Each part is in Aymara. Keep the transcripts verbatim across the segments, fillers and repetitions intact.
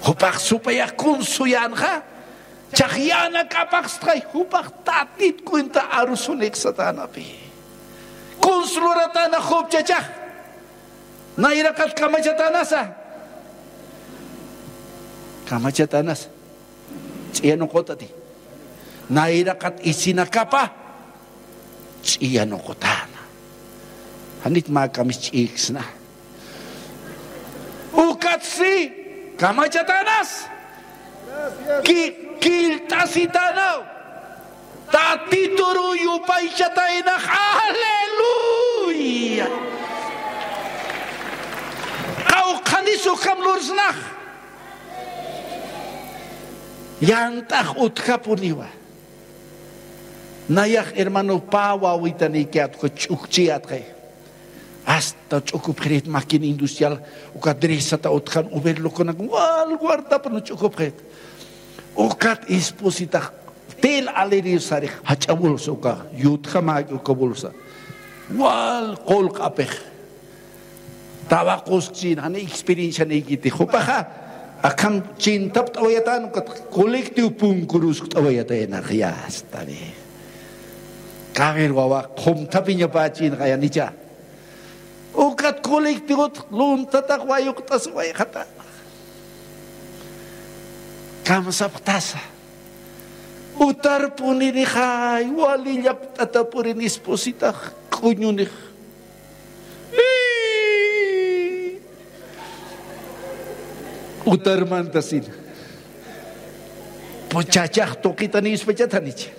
Jupax supayax kuns suyänxa, chax yänakapxstxay, jupax Tatit cuenta arusunix satänapi. Kuns luratäna Job chachax, nayraqat kamachatänasa. Kamachatänasa. Ch'iyanuqutati. Nayraqat isinakapa ch'iyanuqutäna. Janit mä kamis ch'iyiksna. Ukatsti kamachatänasa. Ki-, killt'asitänaw. Tatituruw yupaychataynax. ¡Aleluya! Qawqhanis ukham lursnax. Yant'ax utjapuniwa. Nayax hermano pä wawitanïkiyät uka ch'ukchiyätxay. Hasta ch'ukupxirït máquina industrial, uka dresata utjan overlocknak wal guardapun ch'ukupxirït. Ukat espositax tela aliriw sarix, jach'a bolsa uka, yutjamäki uka bolsa. Wal qullq'apix. Tabacoskchin, jani experiencianïkiti. Jupaxa akham chintapt'awayatän, ukat colectivo punkuruskt'awayataynax, ya está bien. Kawir wawa qhumthapiñapächinxa yanicha. Ukat colectivot lunthatax wayuqt'asiwayxata. Kamsapxtasa. Utarpunirixay, wali llapt'atapurin espositax, k'uñunix. Utarmantasina. Pues chachax tuqitanispachatanicha.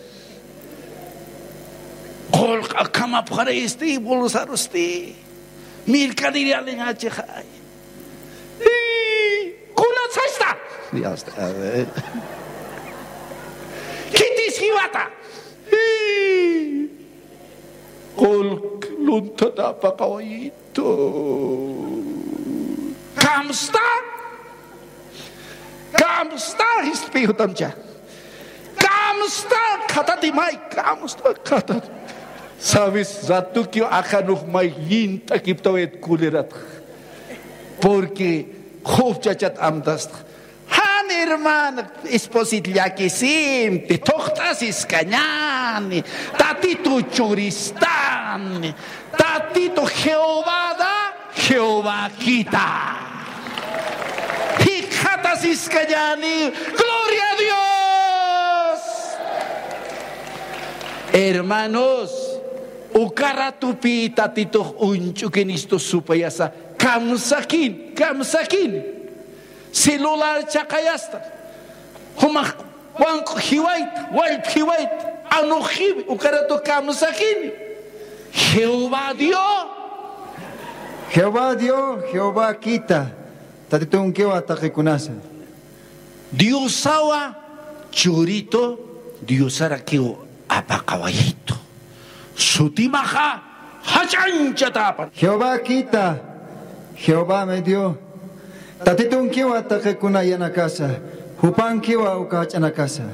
Qullq'a kamapxaristi, bolsarusti. Mercadería liñachixay. Kunatsa sista. Ya está, a ver. Khitis jiwata. Qullq lunthata apaqawayitu. Kamsta. Kamsta, jispiy jutamcha. Kamsta, khatati may, kamsta, khatati. Sabes, ratukiw aqanux may llint'akiptawayat kuliratx. Porque Job chachat amtastx. Jan hermano, esposit llakisimti, thuqt'asiskañäni, Tatitu churistani, Tatitu Jehovada, Jehovakita. Jikxatasiskañäni, gloria a Dios. Hermanos, uka ratupï Tatitux uñch'ukinistu supayasa, kamsakin, kamsakin. Celular chaqayasta. Jumax wank'u jiwayta, wallp jiwayta, anux jiwi, uka ratu kamsakini. Jehová Dios. Jehová Dios, Jehová quita. Tatitunkiwa taqikunasa. Diosawa churitu, Diosarakiw apaqawayitu. Sutimaxa jach'anchatäpan. Jehová quita, Jehová me dio. Tatitunkiwa taqikuna yanakasa, jupankiwa uka jach'anakasa.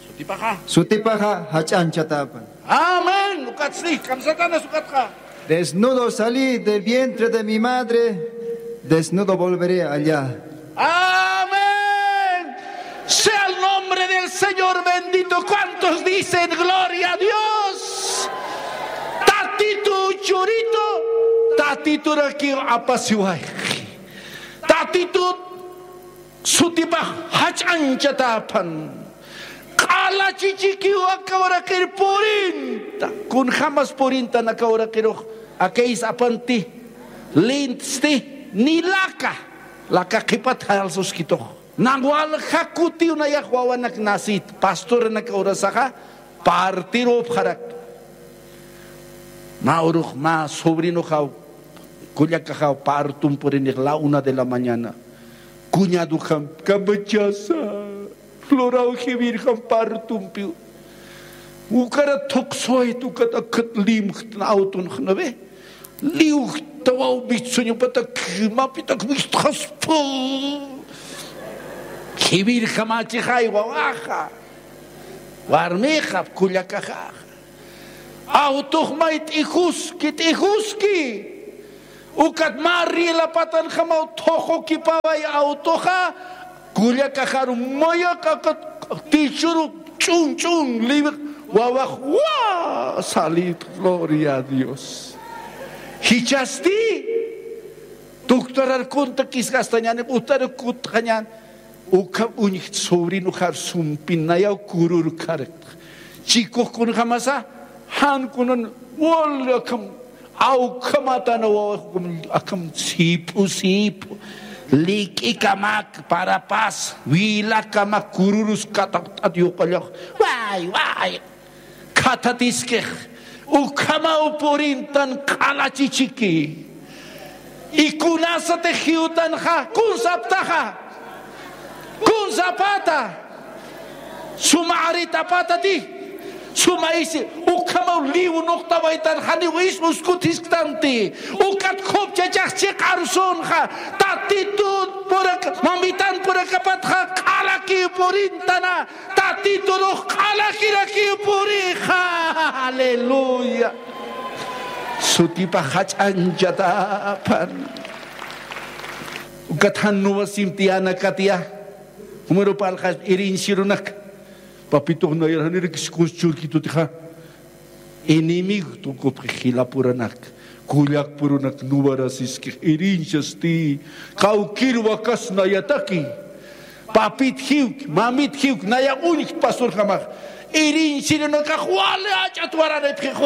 Sutipaxa. Sutipaxa jach'anchatäpan. Amén. Ukatsti, kamsatanas ukatxa. Desnudo salí del vientre de mi madre, desnudo volveré allá. Amén. Sea el nombre del Señor bendito. ¿Cuántos dicen gloria a Dios? Tatitu churitu, Tatiturakiw apasiway. Tatitu sutipax jach'anchatäpan. Q'ala chichikiw aka uraqir purinta. Kunjamas purintan aka uraqirux. Akayis apanti, lintsti, ni laka. Laka qhipat jalsuskitux. Nan walja kutiw nayax wawanak nasit. Pastoranak urasaxa partirupxarak. Mä urux mä sobrinoxaw, kullakaxaw parton purinix la una de la mañana. Cuñadoxam, kamachasa, floraw jiwirjam partonpiw. Ukarat thuqsuwayt, ukat akat limjtna autonx, ¿no ve? Liwjtawaw mistsuñupatak, mapitak mistxaspa. Jiwirjamachixay wawaxa. Warmixa, kullakaxaxa. Autox may t'ijuski, t'ijuski. Ukat mä riela patanjamaw thuqukipaway autoxa, Kullakaxaru mayaq'akat tichuru ch'un ch'un liwix wawax wa salid. Gloria a Dios. Jichasti tuktarar kunta kiskastañani butaru kutqañan. Ukham uñjt sobrinoxar sumpin nayaw kurur karkt. Chikux kunjamasa jan kunan wal akham awkhamatana wawax akham sip'u sip'u lik'ikamak parapas wilakamak kururus kataqt'at yuqallax. Way way khathatiskix ukhamaw purintan q'alachichiki. Y kunasatix jiwtanxa kunsaptaxa kunsapata suma aritapatati suma isi ukhamaw liw nuqtawaytan janiw is uskutisktanti. Ukat khupchachax chiq'arusunxa tatitun puraka mamitan purakapatxa q'alakiw purintana. Tatiturux q'alakirakiw purixa. Aleluya. Sutipa jach'anchatapan. Ukat jan nuwasimtiyana katiya jumiru parlxasp iriñsirunak. Papitux nayar janirikis kunschurkitutixa enemigo tukupxi jilapuranak kullakpurunak nuwarasiskix iriñsisti. Kawkir wakas nayataki papit jiwk mamit jiwk naya uñjt pasturjamax iriñsirunakax wali ach'at wararipxix.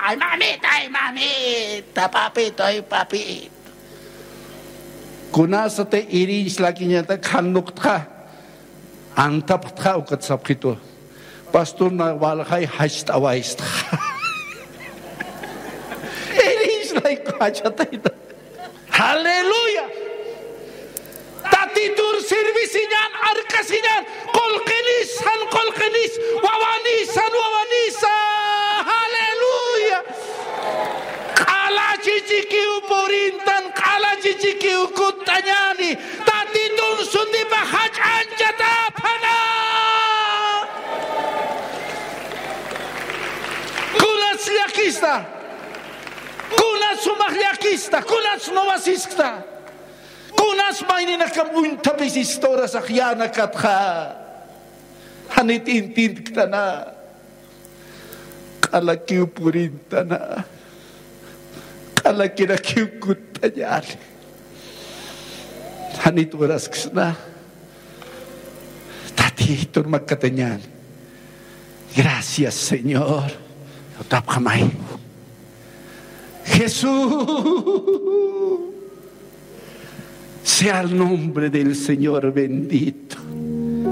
Ay mamita ay mamita papito ay papito. Kunasati irinch lakiñata khan nuqtxa antapxtxa ukat sapxitu. Pasturna walxay jacht'awaystxa. Irinch layku jachatayta. Aleluya. Tatitur servisiñan arkasiñan qulqinisan qulqinis wawanisan wawanisa. Aleluya. Q'alachichikiw purintan q'alachichikiw kutt'añani. Tatitun sutipa jach'anchatäpana. Kunas llakista? Kunas sumax llakista kunas nuwasiskta? Kunas mayninakam uñthapisista urasax yänakatxa? Janit intintktana? Q'alakiw purintana. Q'alakirakiw kutt'añani. Janit urasksna? Tatitun makatañani. Gracias señor. Utapxamay. Jesús, sea el nombre del señor bendito.